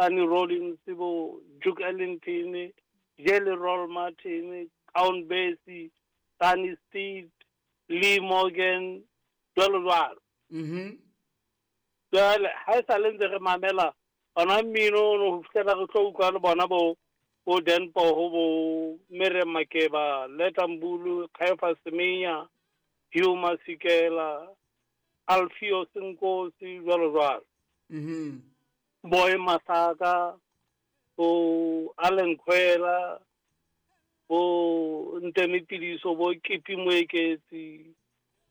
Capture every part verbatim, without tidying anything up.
Sonny Rollins, bo Duke Ellington, Jelly Roll Martin, Count Basie, Sonny Stitt, Lee Morgan, jwalo jwalo. Mhm. Jwale ha e sale ntse re mamela ona mmino ono ho fihlela re tlo utlwa le bona bo bo Dan Poho, bo Miriam Makeba, Letta Mbulu, Caiphus Semenya, Hugh Masekela, Alpheus Nkosi, jwalo jwalo. Mhm. Boy Masaka, bo Allen Kwela, bo Ntemi Piliso, bo Kippie Moeketsi,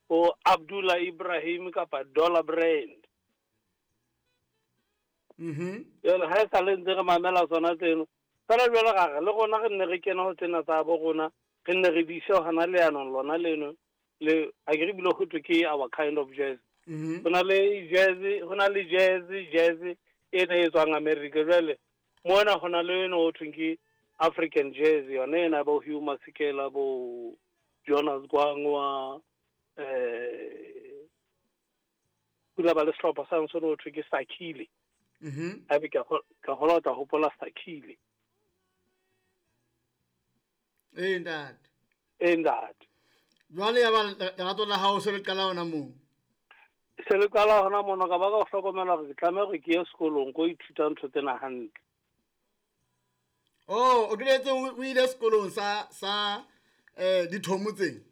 bo Abdullah Ibrahim kapa Dollar Brand. Mhm. Jwale ha e sale ntse re mamela tsona tseno. Fela jwale ga re le rona re nne re kena ho tsena tsa bo rona, re nne re di ise hona leanong lona leno, le a ke re bile ho thwe ke our kind of jazz. Mhm. Ho na le jazz, ho na le jazz, jazz e ne e tswang America. Jwale mona ho na le eno ho thweng ke African jazz, yona ena bo Hugh Masekela, bo Jonas Gwangwa, eh, kula ba le sehlopha sa ntse ho thwe ke Sakhile. Mhm. Haebe ke a kgo-, ke a kgolwa o tla hopola Sakhile. Ee, ntate. Ee, ntate. Jwale ya ba lerato la hao se le qala hona moo? Se le qala hona mono, ka ba ka hlokomela hore ke tlameha hore ke ye sekolong ko ithuta ntho tsena hantle. Oh, o qetetse o, o ile sekolong sa, sa, eh, dithomo tse?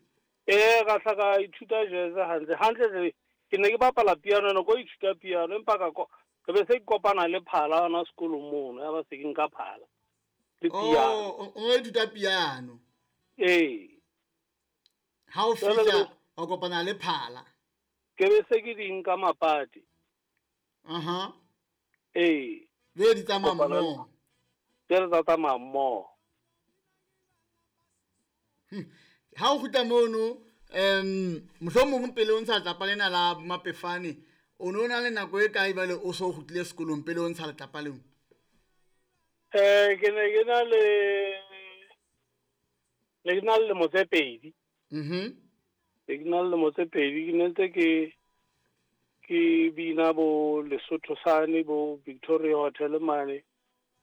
Ee, ka hla ka ithuta jazz hantle. Hantle tle, ke ne ke bapala piano, ne ko ithuta piano, empa ka ko-, ke be se ke kopana le phala hona sekolong mono, ya ba se ke nka phala le Oh, piano. o, o ithuta piano? Ee. Ha o Jwale fihla, ke o kopana le phala. Ke be se ke di nka mapati. Aha. Ee. Be di tsamaya Kopana le mmoho. Be re tsa tsamaya mmoho. Hm. Ha o kgutla mono, em, mohlomong pele o ntsha letlapa lena la Mapefane, o no na le nako e kae jwale o so kgutlile sekolong pele o ntsha letlapa leo? Eh, ke ne ke na le, ne ke na le lemo tse pedi. Mhm. Ne ke na le lemo tse pedi, ke ne ntse ke, ke bina bo Lesotho sane, bo Victoria Hotel mane.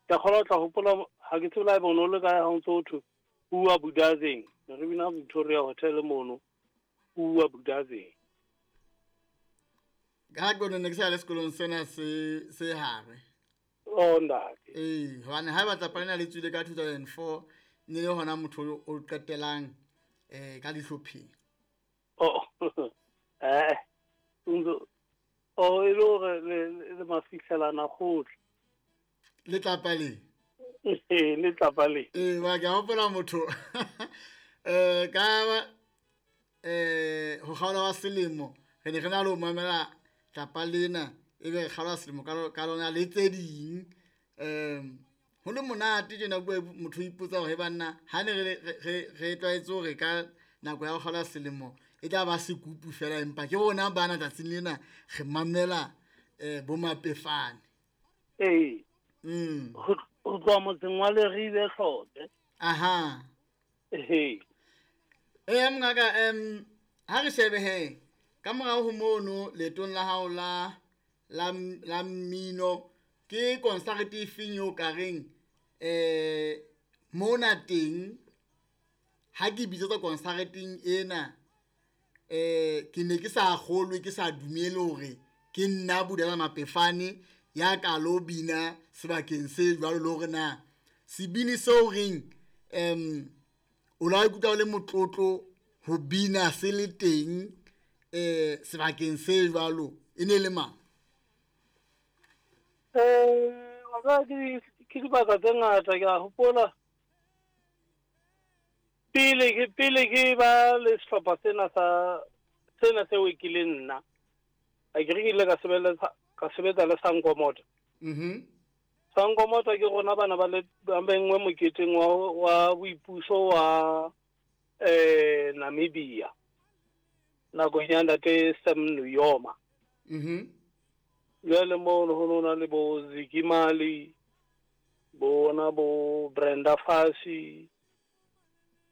Ke a kgolwa o tla hopola, ha ke tsebe le ha ebe o no le kae ha o ntso ho thwe, Bua Budazeng. Ne re bina Victoria Hotel mono, Bua Budazeng. Ka ke ne ke sa le sekolong sena se, se hare. Oh, ntate. Ee, hobane ha e batla lena le tswile ka two thousand four, ne le hona motho o qetelang, eh, ka dihlopheng. Oh, eh, ntso, oh, e le hore le, le, le mafihlelana kgohle. Letlapa le? Ee, letlapa le. Ee, ba ke a hopola motho. Eh, ka, eh, ho kgaola wa selemo, re ne re na le ho mamela tlapa lena, ebe re kgaola selemo ka lo-, ka lona le tse ding. Em, ho le monate tjena bua motho o ipotsa hore banna, ha ne re, re, re, re tlwaetse hore ka nako ya ho kgaola selemo e tla ba sekupu fela, empa ke rona bana tsatsing lena re mamela, eh, bo Mapefane. Ee. Mm. Ho, ho tloha motseng wa Leribe Hlotse. Aha. Ee. Ee, mongaka, em, ha re shebe he, ka morao ho mono leetong la hao la, la, la mmino, ke concert e feng eo ka reng, eh, mona teng, ha ke bitsetswa concerteng ena, eh, ke ne ke sa kgolwe, ke sa dumele hore ke nna Budala Mapefane ya ka lo bina sebakeng se jwalo, le hore na sebini seo reng, em, o la ikutlwa o le motlotlo ho bina se le teng, eh, sebakeng se jwalo, e ne le mang? Eh, wa tseba ke, ke dibaka tse ngata, ke a hopola. Pele ke, pele ke ba le sehlopha sena sa, sena seo e kileng nna. A ke re ke ile ka sebeletsa, ka sebetsa le Sankomota. Mhm. Sankomota ke rona bana ba le, ba bengwe moketeng wa, wa boipuso wa, eh, Namibia. Nakong ya ntate Sam Nujoma. Mhm. Jwale moo ho no na le bo Ziggy Marley, bona bo Brenda Fassie,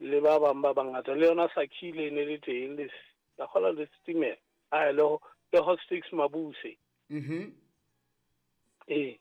le ba bang ba bangata. Le yona Sakhile e ne le teng, le s-, ka kgolwa le Stimela. Ai, le ho, le Hotstix Mabuse. Mhm. Ee.